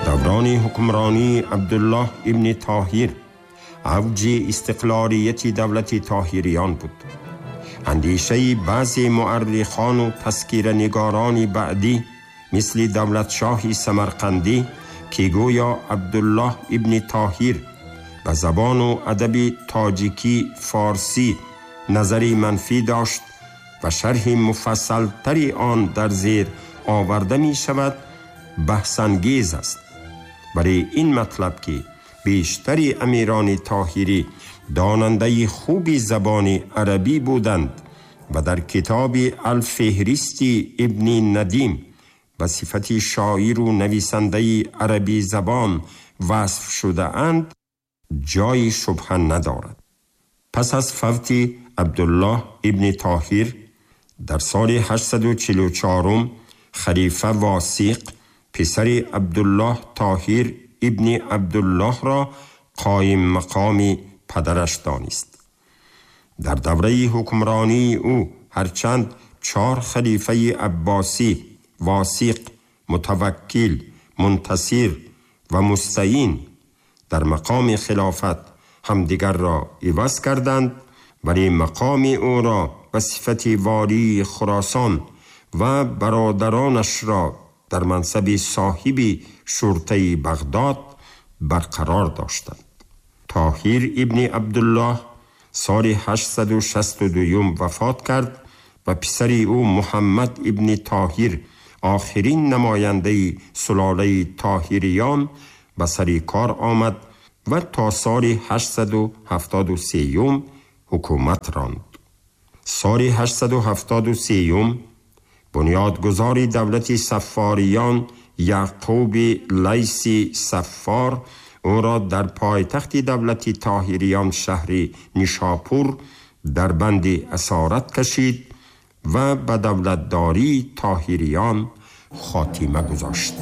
Даврони ҳукмронии Абдуллоҳ ибни Тоҳир авҷи истиқлолияти давлати Тоҳириён буд. Андешаи баъзе муаррихону тазкиранигорони баъдӣ мисли Давлатшоҳи Самарқандӣ, ки гӯё Абдуллоҳ ибни Тоҳир ба забону адаби тоҷикӣ форсӣ назари манфӣ дошт ва шарҳи муфассалтари он дар зер оварда мешавад, баҳсангез аст. Барои ин матлаб, ки бештари амирони тоҳирӣ донандаи хуби забони арабӣ буданд ва дар китоби Алфеҳристи ибни Надим ба сифати шоиру нависандаи арабӣ забон васф шудаанд, ҷои шубҳа надорад. Пас аз фавти Абдуллоҳ ибни Тоҳир дар соли 844, халифа Восиқ писари Абдуллоҳ Тоҳир ибни Абдуллоҳро қоим мақоми падараш донист. Дар давраи ҳукмронии ӯ ҳарчанд чор халифаи аббосӣ, Восиқ, Мутаваккил, Мунтасир ва Мустаин, дар мақоми хилофат ҳамдигарро иваз карданд, вале мақоми ӯро ба сифати волии Хуросон ва бародаронашро дар мансаби соҳиби шуртаи Бағдод барқарор доштанд. Тоҳир ибни Абдуллоҳ соли 862 вафот кард ва писари ӯ Муҳаммад ибни Тоҳир, охирин намояндаи сулолаи Тоҳириён, ба сари кор омад ва то соли 873 ҳукумат ронд. Соли 873 бунёдгузори давлати Саффориён, Яъқуби Лайси Саффор, ӯро дар пойтахти давлати Тоҳириён, шаҳри Нишопур, дар банди асорат кашид ва ба давлатдории Тоҳириён хотима гузошт.